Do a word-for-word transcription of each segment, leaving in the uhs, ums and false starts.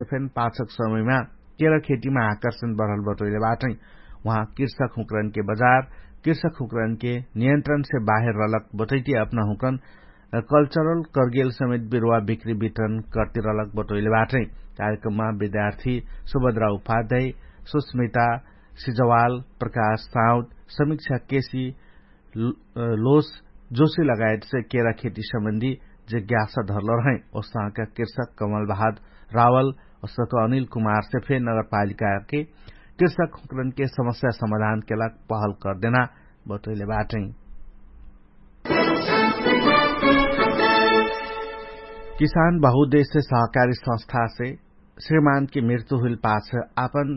फेन पाछक समयमा केरा खेटीमा आकर्षण बढल बटोइले बाटै। उहाँ कृषक हुँकरनके बजार कृषक हुँकरनके नियन्त्रणसे बाहेर रहलक बटैती अपना हुँकरन कल्चरल कर्गेल समेत बिरुवा बिक्री वितरण कर्तिरलक बटोइले बाटै। कार्यक्रममा विद्यार्थी सुभद्रा उपाध्याय, सुस्मिता सिजवाल, प्रकाश साउद, समीक्षा केसी, लोस जोशी लगायतसे केरा खेती सम्बन्धी जिज्ञासा धरल रहै। ओसाका कृषक कमल बहाद रावल ओसक अनिल कुमारसे फे नगरपालिकाके कृषक हुँकरनके समस्या समाधानके लाग पहल कर्देना बटोइले बाटै। किसान बहुदेशसे सहकारी संस्थासे श्रीमानके मृत्यु हुइल पाछ आपन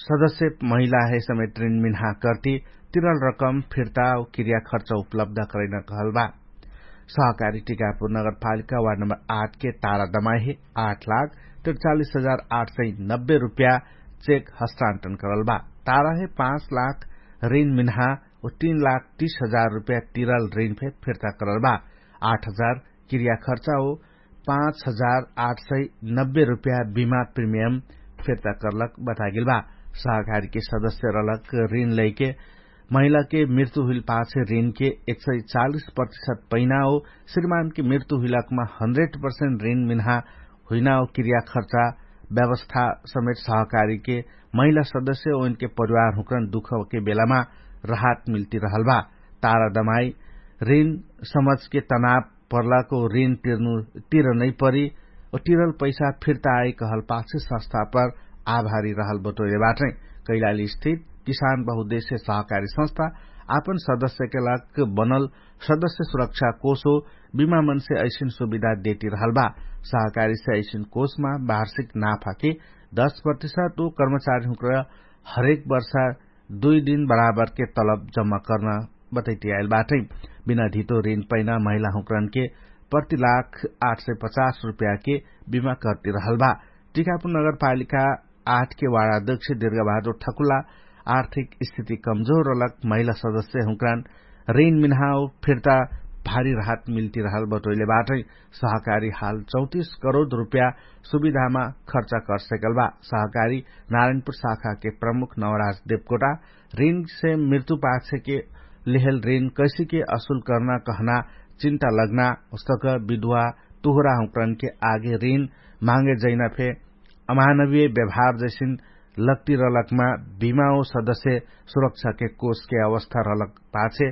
सदस्य महिलाहे समेत ऋण मिन्हा कर्ति तिरल रकम फिर्ता क्रिया खर्च उपलब्ध करैन कहल बा। सहकारी टिकापुर नगरपालिका वार्ड नम्बर आठ के तारा दमाइहे आठ लाख त्रिचालिस हजार आठ सय नब्बे रुपया चेक हस्तान्तरण करल बा। ताराहे पाँच लाख ऋण मिन्हा व तीन लाख तीस हजार रुपया तिरल ऋण फे फिर्ता करल बा। आठ हजार क्रिया खर्चा हो पाँच हजार आठ सय नब्बे रुपया बिमा प्रिमियम फिर्ता करलक बतागेल बा। सहकारीके सदस्य रहलक ऋण लैके महिलाके मृत्यु हुइल पाछे ऋणके एक सय चालिस प्रतिशत पैना हो श्रीमानके मृत्यु हुइलकमा हन्ड्रेड पर्सेन्ट ऋण मिन्हा हुइना हो क्रिया खर्चा व्यवस्था समेत सहकारीके महिला सदस्य ओइनके परिवार हुँकरन दुखके बेलामा राहत मिल्ति रहल बा। तारा दमाई ऋण समझके तनाव पर्लाको ऋण तिर्नु तिर नैपरि ओ तिरल पैसा फिर्ता आइ कहल पाछे संस्था पर आभारी रहल बटोइले बाटै। कैलाली स्थित किसान बहुदेश्य सहकारी संस्था आपन सदस्यके लाग बनल सदस्य सुरक्षा कोष हो बिमा मनसे ऐसिन सुविधा देति रहल बा। सहकारीसे ऐसिन कोषमा वार्षिक नाफाके दस प्रतिशत ओ कर्मचारी हुँक्र हरेक वर्षा दुइ दिन बराबरके तलब जम्मा कर्न बतैति आइल बाटै। बिना धितो ऋण पैना महिला हुँक्रनके प्रति लाख आठ सय पचास रुपयाके बिमा कर्ति रहल बा। टिकापुर नगरपालिका आठके वार्डाध्यक्ष दिर्घ बहादुर ठकुला आर्थिक स्थिति कमजोर रलक महिला सदस्य हुँक्रान ऋण मिन्हाओ फिर्ता भारी राहत मिल्ति रहल बटोइले बाटै। सहकारी हाल चौतिस करोड रुपया सुविधामा खर्चा कर्सेकल बा। सहकारी नारायणपुर शाखाके प्रमुख नवराज देवकोटा ऋणसे मृत्यु पाछेके लेहल ऋण कैसिके असुल कर्ना कहना चिन्ता लग्ना उस्तक विधुवा तुहरा हुँक्रनके आगे ऋण माँगे जैना फे अमानवीय व्यवहार जैसिन लग्ति रलकमा बिमा ओ सदस्य सुरक्षाके कोषके अवस्था रलक पाछे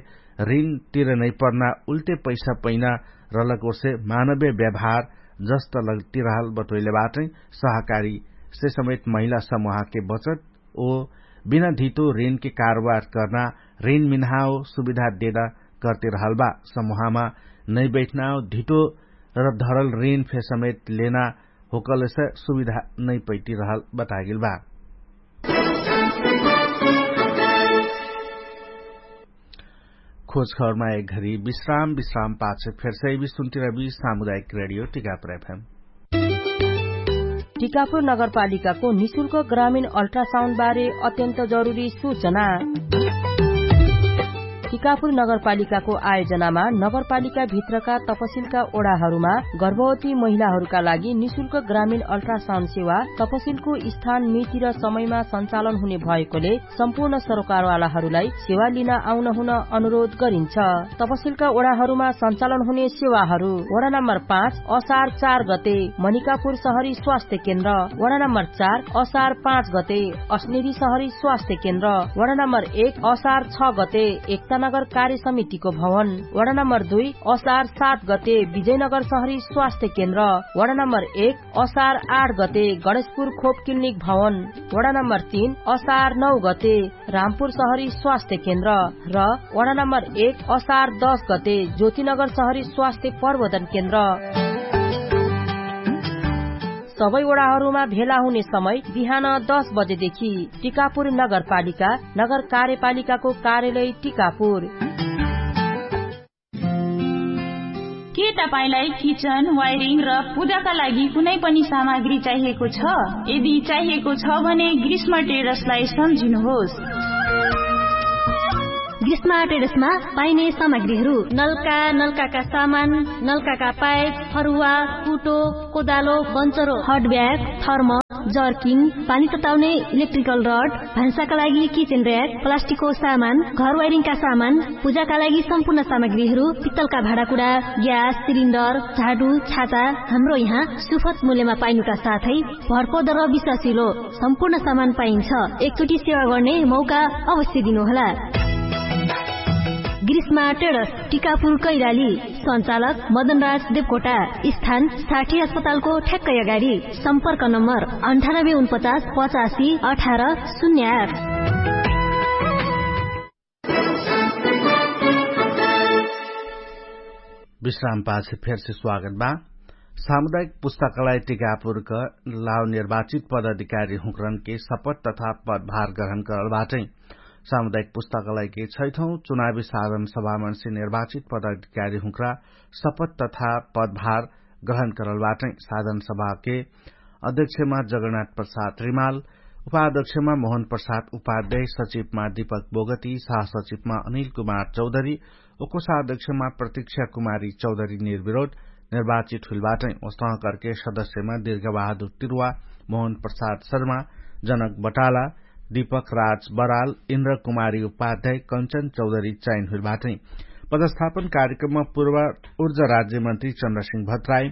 ऋण तिर नैपर्ना उल्टे पैसा पैना रलक ओर्से मानवीय व्यवहार जस्त लग्ति रहल बटोइले बाटै। सहकारीसे समेत महिला समुहाके बचत ओ बिना धितो ऋणके कारोबार कर्ना ऋण मिन्हाओ सुविधा देना कर्ति रहल बा। समुहामा नैबैठनाओ धितो र धरल ऋण फे समेत लेना होकलसे सुविधा नैपैति रहल बतागेल बा। खोजखबरमा एक घरी विश्राम विश्राम पाछे फेरसे बिसुन्तिरबी सामुदायिक रेडियो टिकापुर एफएम। टिकापुर नगरपालिकाको निशुल्क ग्रामीण अल्ट्रासाउन्डबारे अत्यन्त जरुरी सूचना। टिकापुर नगरपालिकाको आयोजनामा नगरपालिकाभित्रका तपसिलका ओडाहरूमा गर्भवती महिलाहरूका लागि निशुल्क ग्रामीण अल्ट्रासाउन्ड सेवा तपसिलको स्थान मिति र समयमा सञ्चालन हुने भएकोले सम्पूर्ण सरोकारवालाहरूलाई सेवा लिन आउन हुन अनुरोध गरिन्छ। तपसिलका ओडाहरूमा सञ्चालन हुने सेवाहरू वडा नम्बर पाँच असार चार गते मनिकापुर सहरी स्वास्थ्य केन्द्र, वडा नम्बर चार असार पाँच गते अस्नेरी सहरी स्वास्थ्य केन्द्र, वडा नम्बर एक असार छ गते एकतानगर कार्य समितिको भवन, वडा नम्बर दुई असार सात गते विजयनगर सहरी स्वास्थ्य केन्द्र, वडा नम्बर एक असार आठ गते गणेशपुर खोप क्लिनिक भवन, वडा नम्बर तीन असार नौ गते रामपुर सहरी स्वास्थ्य केन्द्र र वडा नम्बर एक असार दस गते ज्योतिनगर सहरी स्वास्थ्य प्रवर्धन केन्द्र। सबै वडाहरूमा भेला हुने समय बिहान दस बजेदेखि। टिकापुर नगरपालिका, नगर कार्यपालिकाको कार्यालय टिकापुर। के तपाईंलाई किचन वायरिङ र पुजाका लागि कुनै पनि सामग्री चाहिएको छ? यदि चाहिएको छ भने ग्रीष्म टेरसलाई सम्झिनुहोस्। ग्रीष्म टेरसमा पाइने सामग्रीहरू नलका, नलकाका सामान, नलकाका पाइप, फरुवा, कुटो, कोदालो, बन्चरो, हट ब्याग, थर्मस, जर्किङ, पानी तताउने इलेक्ट्रिकल रड, भान्साका लागि किचेन र्‍याक, प्लास्टिकको सामान, घर वाइरिङका सामान, पूजाका लागि सम्पूर्ण सामग्रीहरू, पित्तलका भाँडाकुँडा, ग्यास सिलिन्डर, झाडु, छाता, हाम्रो यहाँ सुफत मूल्यमा पाइनुका साथै भरपर्दो र विश्वासिलो सम्पूर्ण सामान पाइन्छ। एकचोटि सेवा गर्ने मौका अवश्य दिनुहोला। ग्रीष्मा टेडस, टिकापुर कैलाली। सञ्चालक मदनराज देवकोटा। स्थान साठी अस्पतालको ठ्याक्कै अगाडि। सम्पर्क नम्बर अन्ठानब्बे उनपचास पचासी अठार शून्य आठ। विश्रामपाछे फेरसे स्वागत बा। सामुदायिक पुस्तकालय टिकापुरक लाव निर्वाचित पदाधिकारी हुँकरनके शपथ तथा पदभार ग्रहण करल बाटै। सामुदायिक पुस्तकालयके छैठौँ चुनावी साधन सभामनसे निर्वाचित पदाधिकारी हुँकरा शपथ तथा पदभार ग्रहण करल बाटै। साधन सभाके अध्यक्षमा जगन्नाथ प्रसाद रिमाल, उपाध्यक्षमा मोहन प्रसाद उपाध्याय, सचिवमा दीपक बोगती, सहसचिवमा अनिल कुमार चौधरी, उकोसाध्यक्षमा प्रतीक्षा कुमारी चौधरी निर्विरोध निर्वाचित हुइल बाटै। ओस्तह करके सदस्यमा दीर्घ बहादुर तिरुवा, मोहन प्रसाद शर्मा, जनक बटाला, दीपक राज बराल, इन्द्र कुमारी उपाध्याय, कञ्चन चौधरी चयन हुइल बाटै। पदस्थापन कार्यक्रममा पूर्व ऊर्जा राज्यमन्त्री चन्द्रसिंह भट्टराई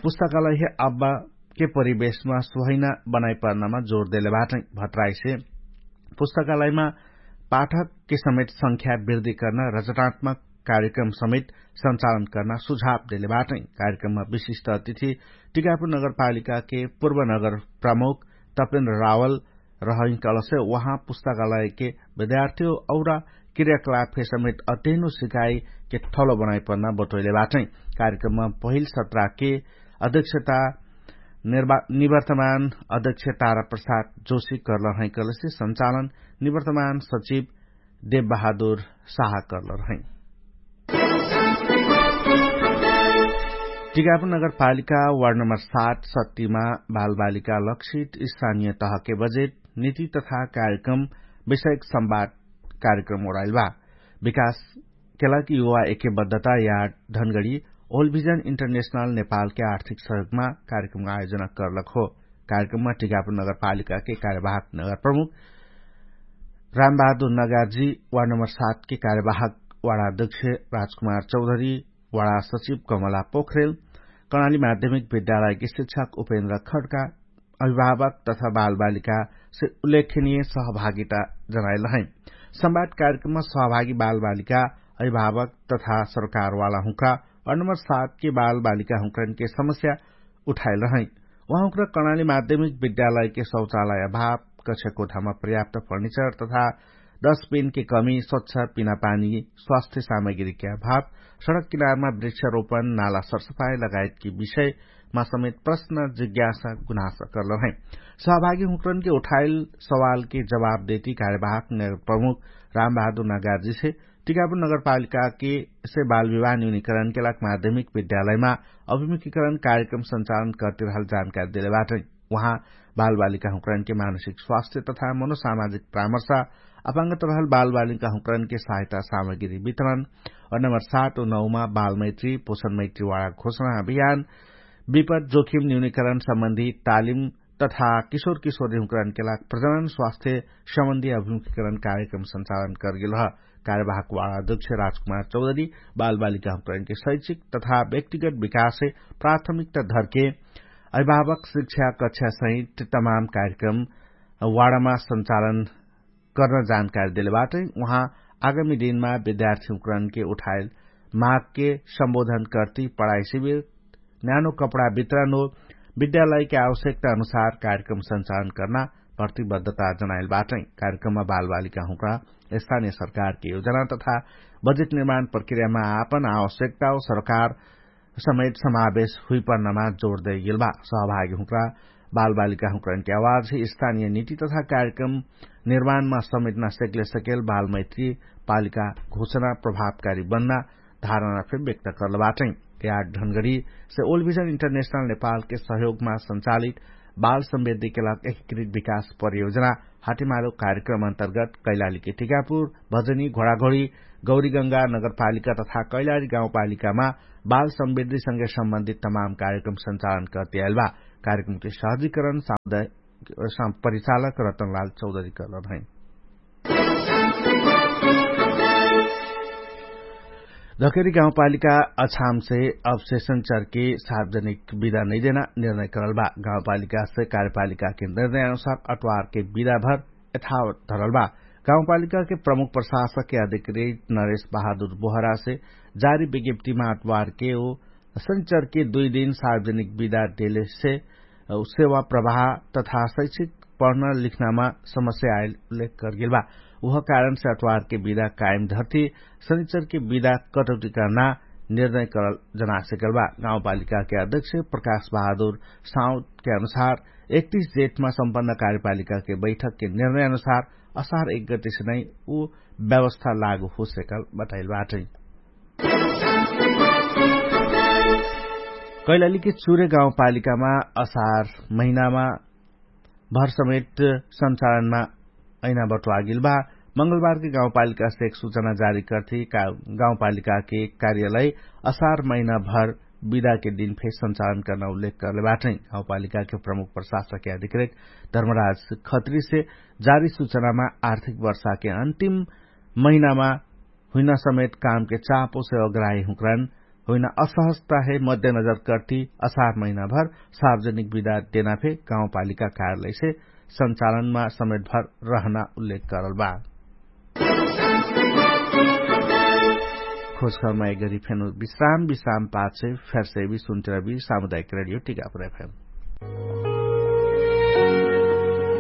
पुस्तकालय हे अब्बा के परिवेशमा सुहैना बनाइपर्नामा जोर देले बाटै। भट्टराईसे पुस्तकालयमा पाठकके समेत संख्या वृद्धि कर्ना रचनात्मक कार्यक्रम समेत सञ्चालन कर्ना सुझाव देले बाटै। कार्यक्रममा विशिष्ट अतिथि टिकापुर नगरपालिकाके पूर्व नगर प्रमुख तपेन्द्र रावल रहैकलसे उहाँ पुस्तकालयके विद्यार्थीओ औरा क्रियाकलापके समेत अध्ययनो सिकाइके ठलो बनाइपर्ना बटोइले बाटै। कार्यक्रममा पहिल सत्राके अध्यक्षता निवर्तमान अध्यक्ष तारा प्रसाद जोशी कर्लरहै कलसे सञ्चालन निवर्तमान सचिव देव बहादुर साहा कर्लरहै। टिकापुर नगरपालिका वार्ड नम्बर सात सत्तिमा बालबालिका लक्षित स्थानीय तहके बजेट नीति तथा कार्यक्रम विषयक संवाद कार्यक्रम ओराइल बा। विकास केलाकी युवा एके बद्धता या ढनगडी ओलभिजन इन्टरनेशनल नेपालके आर्थिक सहयोगमा कार्यक्रम आयोजना कर्लक हो। कार्यक्रममा टिकापुर नगरपालिकाके कार्यवाहक नगर प्रमुख रामबहादुर नगारजी, वार्ड नम्बर सातके कार्यवाहक वार्डाध्यक्ष राजकुमार चौधरी, वार्डा सचिव कमला पोखरेल, कर्णाली माध्यमिक विद्यालयके शिक्षक उपेन्द्र खड्का, अभिभावक तथा बालबालिकासे उल्लेखनीय सहभागिता जनाइल रहै। संवाद कार्यक्रममा सहभागी बालबालिका, अभिभावक तथा सरकारवाला हुँक्रा वार्ड नम्बर सातके बालबालिका हुँक्रनके समस्या उठाइल रहै। उहाँ हुँक्रा कर्णाली माध्यमिक विद्यालयके शौचालय अभाव, कक्षाकोठामा पर्याप्त फर्निचर तथा दस पिनके कमी, स्वच्छ पिनापानी, स्वास्थ्य सामग्रीके अभाव, सडक किनारमा वृक्षारोपण, नाला सरसफाई लगायतके विषयमा समेत प्रश्न जिज्ञासा गुनासा कर्लरहै। सहभागी हुँक्रनके उठाइल सवालके जवाब देती कार्यवाहक नगर प्रमुख रामबहादुर नगारजीसे टिकापुर नगरपालिकाके से बालविवाह न्यूनीकरणके लाग माध्यमिक विद्यालयमा अभिमुखीकरण कार्यक्रम सञ्चालन कर्तिरहल जानकारी देले बाटै। उहाँ बालबालिका हुँक्रनके मानसिक स्वास्थ्य तथा मनोसामाजिक परामर्श, अपाङ्गत रहल बालबालिका हुँक्रनके सहायता सामग्री वितरण, वार्ड नम्बर सात व नौमा बालमैत्री पोषणमैत्री वाडा घोषणा अभियान, विपद जोखिम न्यूनीकरण सम्बन्धी तालिम तथा किशोर किशोरी हुँक्रनके लाग प्रजनन स्वास्थ्य सम्बन्धी अभिमुखीकरण कार्यक्रम सञ्चालन कर्गेल ह। कार्यवाहक वाडा अध्यक्ष राजकुमार चौधरी बालबालिका हुँक्रनके शैक्षिक तथा व्यक्तिगत विकासे प्राथमिकता धर्के अभिभावक शिक्षा कक्षा सहित तमाम कार्यक्रम वाडामा सञ्चालन कर्न जानकारी देले बाटै। उहाँ आगामी दिनमा विद्यार्थी हुँक्रनके उठाइल मागके सम्बोधन कर्ती पढाइ शिविर, न्यानो कपडा वितरण हो विद्यालयके आवश्यकता अनुसार कार्यक्रम सञ्चालन कर्ना प्रतिबद्धता जनाइल बाटै। कार्यक्रममा बालबालिका हुँक्रा स्थानीय सरकारके योजना तथा बजेट निर्माण प्रक्रियामा आपन आवश्यकता हो सरकार समेत समावेश हुइपर्नमा जोड दैगेल बा। सहभागी हुँक्रा बालबालिका हुँक्रनके आवाज स्थानीय नीति तथा कार्यक्रम निर्माणमा समेटना सेक्ले सकेल बालमैत्री पालिका घोषणा प्रभावकारी बन्ना धारणा फेर व्यक्त कर्ल बाटै। याद ढनगढी से ओलभिजन इन्टरनेशनल नेपालके सहयोगमा सञ्चालित बाल सम्बेद्धिके लाग एकीकृत विकास परियोजना हाटिमालो कार्यक्रम अन्तर्गत कैलालीके टिकापुर, भजनी, घोडाघोडी, गौरीगङ्गा नगरपालिका तथा कैलाली गाउँपालिकामा बाल सम्बेद्धिसँगै सम्बन्धित तमाम कार्यक्रम सञ्चालन कर्तियाइल बा। कार्यक्रमके सहजिकरण सामुदायिक परिचालक रतनलाल चौधरी करलन है। धकेरी गाउँपालिका अछामसे अवशेषण चरके सार्वजनिक विधा नैदेना निर्णय करल बा। गाउँपालिकासे कार्यपालिकाके निर्णय अनुसार अट्वारके विधाभर यथावत धरल बा। गाउँपालिकाके प्रमुख प्रशासकके अधिकृत नरेश बहादुर बोहरासे जारी विज्ञप्तिमा अट्वारके ओ शनिचरके दुइ दिन सार्वजनिक विधा देलेसे सेवा प्रवाह तथा शैक्षिक पढ्न लिख्नामा समस्या आइल उल्लेख करगेल बा। उह कारणसे अट्वारके विधा कायम धर्ती शनिचरके विधा कटौटी कर्ना निर्णय करल जनासेकल बा। गाउँपालिकाके अध्यक्ष प्रकाश बहादुर साउदके अनुसार एकतिस जेठमा सम्पन्न कार्यपालिकाके बैठकके निर्णय अनुसार असार एक गतिसे नै उ व्यवस्था लागू होसेकल बताइल बाटै। कैलालीके चुरे गाउँपालिकामा असार महिनामा भर समेट सञ्चालनमा ऐना बट्वागिल बा। मंगलबारके गाउँपालिकासे एक सूचना जारी कर्थी गाउँपालिकाके कार्यालय असार महिनाभर विदाके दिनफे सञ्चालन कर्ना उल्लेख करले बाटै। गाउँपालिकाके प्रमुख प्रशासकके अधिकृत धर्मराज खत्रीसे जारी सूचनामा आर्थिक वर्षाके अन्तिम महिनामा हुइना समेत कामके चापो सेवाग्राही हुँक्रान हुइना असहजताहे मध्यनजर कर्ती असार महिनाभर सार्वजनिक विदा देनाफे गाउँपालिका कार्यालयसे सञ्चालनमा समेटभर रहना उल्लेख करल बा। खोजखबरमा एगरी फेनु विश्राम विश्राम पाछे फेरसे भी सुन्तिरबी सामुदायिक रेडियो टिकापुर एफएम।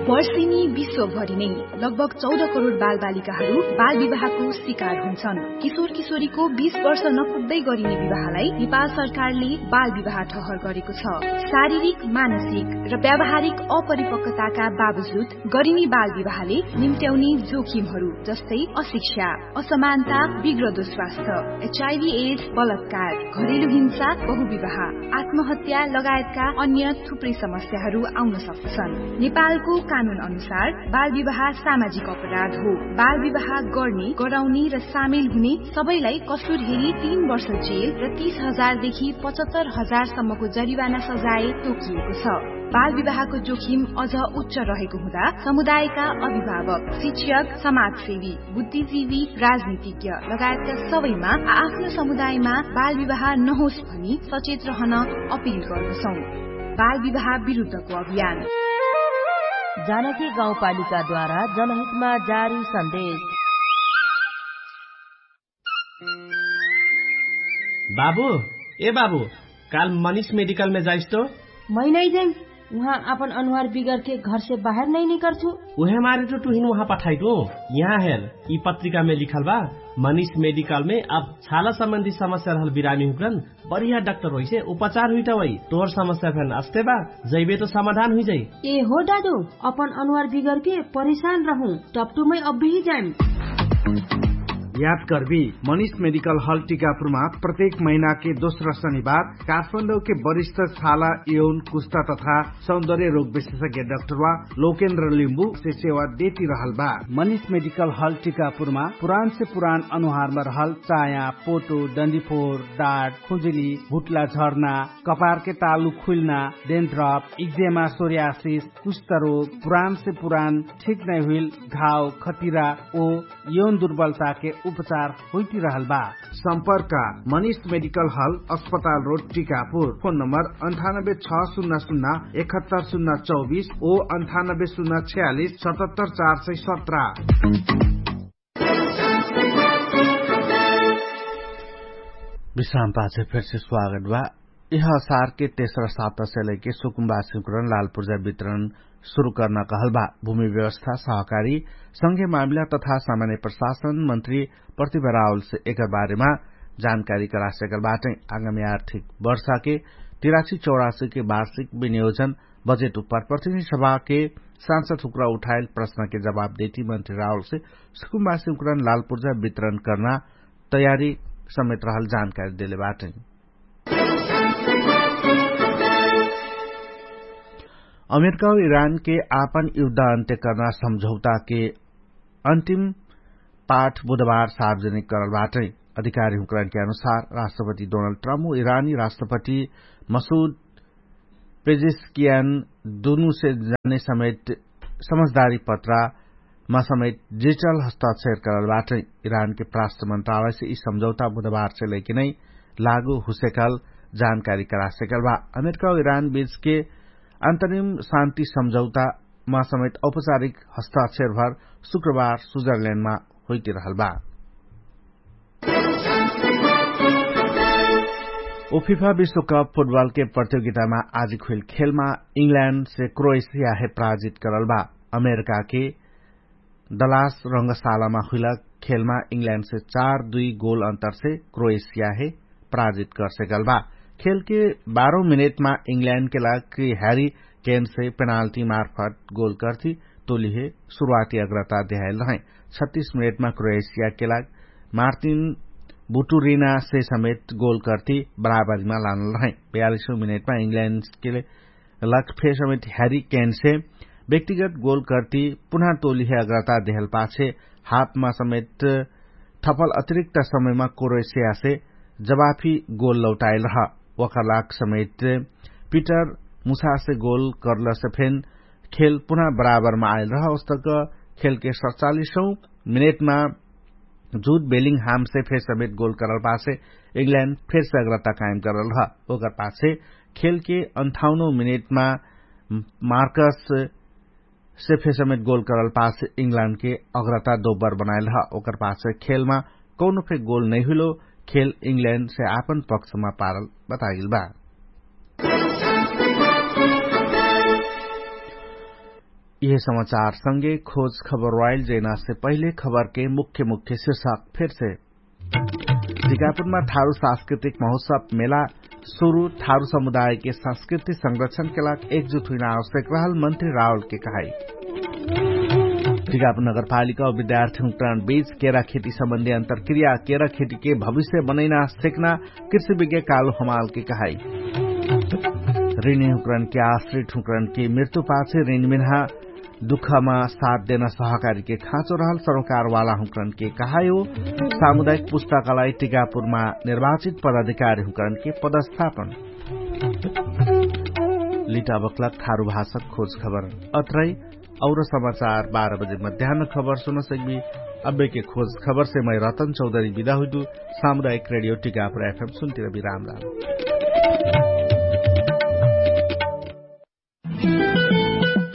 वर्षिनी विश्वभरि नै लगभग चौध करोड बालबालिकाहरू बालविवाहको शिकार हुन्छन्। किशोर किशोरीको बीस वर्ष नपुग्दै गरिने विवाहलाई नेपाल सरकारले बालविवाह ठहर गरेको छ। शारीरिक, मानसिक र व्यावहारिक अपरिपक्वताका बावजुद गरिने बालविवाहले निम्ट्याउने जोखिमहरू जस्तै अशिक्षा, असमानता, बिग्रदो स्वास्थ्य, एचआइभी एड्स, बलात्कार, घरेलु हिंसा, बहुविवाह, आत्महत्या लगायतका अन्य थुप्रै समस्याहरू आउन सक्दछन्। नेपालको कानुन अनुसार बालविवाह सामाजिक अपराध हो। बालविवाह गर्ने, गराउने र सामेल हुने सबैलाई कसुर हेरी तीन वर्ष जेल र तीस हजार देखि पचहत्तर हजार सम्मको जरिवाना सजाय तोकिएको छ। बालविवाहको जोखिम अझ उच्च रहेको हुँदा समुदायका अभिभावक, शिक्षक, समाजसेवी, बुद्धिजीवी, राजनीतिज्ञ लगायतका सबैमा आ-, आफ्नो समुदायमा बालविवाह नहोस् भनी सचेत रहन अपिल गर्दछौं। बालविवाह विरुद्धको अभियान। जानकी गाउँपालिकाद्वारा जनहितमा जारी सन्देश। बाबु, ए बाबु, काल मनिष मेडिकलमे जाइस्तो? मै नै जाइम। उहाँ आपन अनुहार बिगरके घरसे बाहेर नै निकर्छु। उहे मारे टु टुहिन उहाँ पठाइटु। यहाँ हेर, यि पत्रिकामे लिखल बा, मनिष मेडिकलमे अब छाला सम्बन्धी समस्या रहल बिरामी हुँक्रन बढिया डाक्टर होइसे उपचार हुइटा वै। तोर समस्या फेन अस्ते बा, जैबे तो समाधान हुइजाइ। ए हो दादु, अपन अनुहार बिगरके परिशान रहु, टप्टुमै अब्बिही जाइम। याद कर्बी, मनिष मेडिकल हल टिकापुरमा प्रत्येक महिनाके दोस्रा शनिबार काठमाडौके वरिष्ठ छाला, यौन, कुस्ता तथा सौन्दर्य रोग विशेषज्ञ डाक्टरवा लोकेन्द्र लिम्बुसे सेवा देति रहल बा। मनिष मेडिकल हल टिकापुरमा पुरानसे पुरान अनुहारमा रहल चाया, पोटो, डन्डीफोर, डाट, खुजुली, भुट्ला झर्ना, कपारके तालु खुइल्ना, डेन्ड्रप, इक्जेमा, सोर्यासिस, कुष्ठरोग, पुरानसे पुरान ठिक नैहुइल घाव, खतिरा ओ यौन दुर्बलताके उपचार होइटिरहल बा। सम्पर्क, मनिष मेडिकल हल, अस्पताल रोड, टिकापुर। फोन नम्बर अन्ठानब्बे छ सुन्ना सुन्ना एकहत्तर सुन्ना चौबिस ओ अन्ठानब्बे सुन्ना छयालिस सतहत्तर चार सय सत्र। विश्राम पाछे फेरसे स्वागत बा। यह असारके तेस्रा साप्तासे लैके सुकुम्बासिमकरण लालपुर्जा वितरण सुरु कर्ना कहल बा। भूमि व्यवस्था, सहकारी, संघे मामिला तथा सामान्य प्रशासन मन्त्री प्रतिभा रावलसे एकर बारेमा जानकारी करासेकल बाटै। आगामी आर्थिक वर्षाके तिरासी चौरासीके वार्षिक विनियोजन बजेट उप्पर प्रतिनिधि सभाके सांसद हुक्रा उठाइल प्रश्नके जवाब देति मन्त्री रावलसे सुकुम्बासिमकरण लालपुर्जा वितरण कर्ना तयारी समेत रहल जानकारी देले बाटै। अमेरिका व इरानके आपन युद्ध अन्त्य कर्ना सम्झौताके अन्तिम पाठ बुधबार सार्वजनिक करल बाटै। अधिकारी हुँकरानके अनुसार राष्ट्रपति डोनाल्ड ट्रम्प व इरानी राष्ट्रपति मसुद पेजिसकियान दुनुसे जाने समेत समझदारी पत्रा मा समेत डिजिटल हस्ताक्षर करल बाटै। इरानके प्राष्ट मन्त्रालयसे यि सम्झौता बुधबारसे लैके नै लागू हुसेकल जानकारी करासेकल बा। अमेरिका इरान बीचके अन्तरिम शान्ति सम्झौता मा समेत औपचारिक हस्ताक्षर भर शुक्रबार स्विजरल्याण्डमा होइतिरहल बा। उफिफा विश्वकप फुटबलके प्रतियोगितामा आजि खुइल खेलमा इङ्ग्ल्याण्डसे क्रोएसियाहे पराजित करल बा। अमेरिकाके दलास रङ्गशालामा हुइला खेलमा इङ्ग्ल्याण्डसे चार दुई गोल अन्तरसे क्रोएसियाहे पराजित करसेकल बा। खेलके बाह्रौं मिनेटमा इङ्ग्ल्याण्डके लागि ह्यारी केनसे पेनाल्टी मार्फत गोल कर्ति तोलिहे सुरुवाती अग्रता देहाइल रहै। छत्तीस मिनेटमा क्रोएसियाके लागि मार्टिन बुटुरिनासे समेत गोल कर्ति बराबरीमा लानल रहै। बयालिसौं मिनेटमा इङ्ग्ल्याण्डके लागि फेर समेत ह्यारी केनसे व्यक्तिगत गोल कर्ति पुनः तोलिहे अग्रता देहल पाछे हाफमा समेत थपल अतिरिक्त समयमा क्रोएसियासे जवाफी गोल लौटाइल रह। ओकर लाग समेत पिटर मुसासे गोल करलसे फेन खेल पुनः बराबरमा आइल रह। उस्तक खेलके सतचालिसौं मिनेटमा जुट बेलिङ्गहामसे फेर समेत गोल करल पाछे इङ्ग्ल्याण्ड फेरसे अग्रता कायम करल रह। ओकर पाछे खेलके अन्ठाउनौं मिनेटमा मार्कस से फेर समेत गोल करल पाछे इङ्ग्ल्याण्डके अग्रता दोबर बनाइल रह। ओकर पाछे खेलमा कौनो फे गोल नैहुइलो खेल इङ्ग्ल्याण्डसे आपन पक्षमा पारल बताइल बा। यिहे समाचारसँगे खोज खबर वाइल जैनासे पहिले खबरके मुख्य मुख्य शिर्षक फेरसे। टिकापुरमा थारु सांस्कृतिक महोत्सव मेला सुरु थारु समुदायके संस्कृति संरक्षणके लागि एकजुट हुइना आवश्यक रहल मन्त्री रावलके कहाई। टिकापुर नगरपालिका विद्यार्थीहुँकरण बीच केरा खेती सम्बन्धी अन्तरक्रिया केरा खेतीके भविष्य बनैना सेक्ना कृषि विज्ञ कालु हमालके कहाई। ऋणीहुँकरणके आश्रितहुँकरणके मृत्यु पाछे ऋणमिन्हा दुःखमा साथ देना सहकारीके खाँचो रहल सरोकारवालाहुँकरणके कहायो। सामुदायिक पुस्तकालय टिकापुरमा निर्वाचित पदाधिकारीहुँकरणके पदस्थापन। लिटाबक्लक थारु भाषक खोज खबर अत्रै। और समाचार बाह्र बजे मध्यान्न खबर सुनसक्बी। अब्बेके खोज खबरसे मै रतन चौधरी बिदा हुइदु। सामुदायिक रेडियो टिकापुर एफएम सुन्तिरबी राम राम।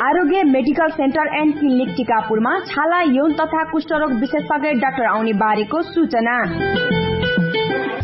आरोग्य मेडिकल सेन्टर एन्ड क्लिनिक टिकापुरमा छाला यौन तथा कुष्ठरोग विशेषज्ञ डाक्टर आउने बारेको सूचना।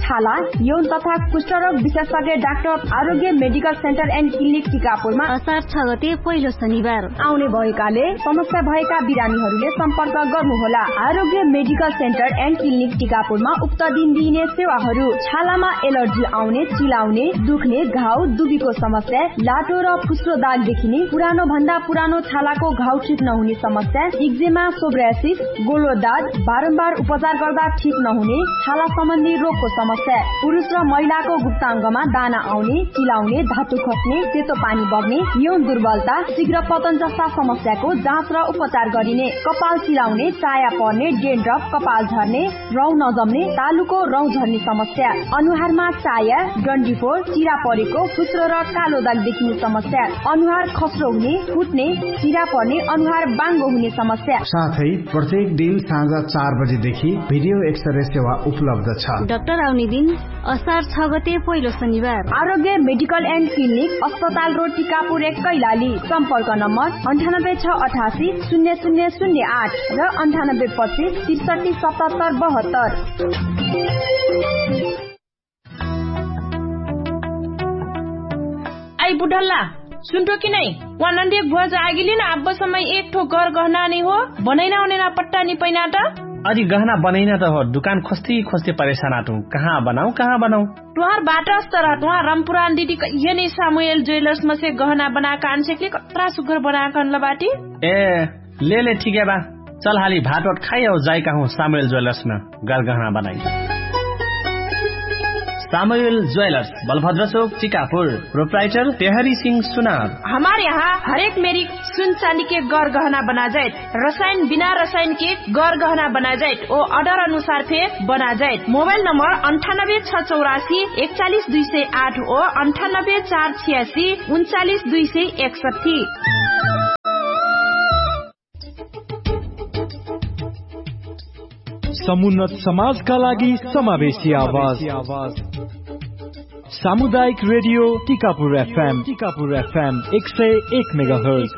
छाला यौन तथा कुष्ठरोग विशेषज्ञ डाक्टर आरोग्य मेडिकल सेन्टर एन्ड क्लिनिक टिकापुरमा असार छ गते पहिलो शनिबार आउने भएकाले समस्या भएका बिरामीहरूले सम्पर्क गर्नुहोला। आरोग्य मेडिकल सेन्टर एन्ड क्लिनिक टिकापुरमा उक्त दिन दिइने सेवाहरू छालामा एलर्जी आउने, चिलाउने, दुख्ने, घाउ दुबीको समस्या, लाटो र फुस्रो दाग देखिने, पुरानो भन्दा पुरानो छालाको घाउ ठिक नहुने समस्या, इक्जेमा, सोब्रासिस, गोलो दाग, बारम्बार उपचार गर्दा ठिक नहुने छाला सम्बन्धी रोगको समस्या, पुरुष र महिलाको गुप्ताङ्गमा दाना आउने, चिलाउने, धातु खस्ने, सेतो पानी बग्ने, यौन दुर्बलता, शीघ्र पतन जस्ता समस्याको जाँच र उपचार गरिने। कपाल चिलाउने, चाया पर्ने, डेन्ड्रप, कपाल झर्ने, रौँ नजम्ने, तालुको रौँ झर्ने समस्या, अनुहारमा चाया, डन्डीफोर, चिरा परेको, फुस्रो र कालो दाग देखिने समस्या, अनुहार खस्रो हुने, फुट्ने, चिरा पर्ने, अनुहार बाङ्गो हुने समस्या। साथै प्रत्येक दिन साँझ चार बजेदेखि भिडियो एक्सरे सेवा उपलब्ध छ। डाक्टर आउने दिन असार छ गते पहिलो शनिबार। आरोग्य मेडिकल एन्ड क्लिनिक, अस्पताल रोड, टिकापुर एक, कैलाली। सम्पर्क नम्बर अन्ठानब्बे छ अठासी शून्य शून्य शून्य आठ र अन्ठानब्बे पच्चिस त्रिसठी सतहत्तर बहत्तर। आई बुढल्ला, सुन्ठो कि नै? वा नन्दी एक भुवा जो आगिली न आब्बो समय एक ठो घर गहना नै हो, बनैना ओनैना पट्टा नि पैना त। अदि गहना बनैना त हो, दुकान खोस्ती खोस्ती परेशान आटु। कहाँ बनाउ, कहाँ बनाउ? तुहार बाटा अस्तर ह, तुहार रमपुरान दिदी कहिया नि सामुएल ज्वेलर्स मसे गहना बनाक आन्सेकली कत्रा सुग्घर बनाक अनल बाटी। ए, ले ले ठिकै बा। चल हाली भात ओट खाइ औ जाइ कहु सामुएल ज्वेलर्स म गहना बनाइ। सामुएल ज्वेलर्स, बलभद्र चोक, चिकापुर। प्रोप्राइटर पेहरी सिंह सुनार। हमार यहाँ हरेक मेरी सुन चाँदी के गरगहना बनाजाइत, रसाइन बिना रसाइन के गरगहना बनाजाइत ओ अर्डर अनुसार फे बनाजाइत। मोबाइल नम्बर अन्ठानब्बे छ चौरासी एकचालिस दुई सय आठ ओ अन्ठानब्बे चार छियासी उन्चालिस दुई सय एकसट्ठी। समुन्नत समाजका लागि समावेशी आवाज। सामुदायिक रेडियो टिकापुर एफएम, टिकापुर एफएम एक सय एक मेगाहर्ज।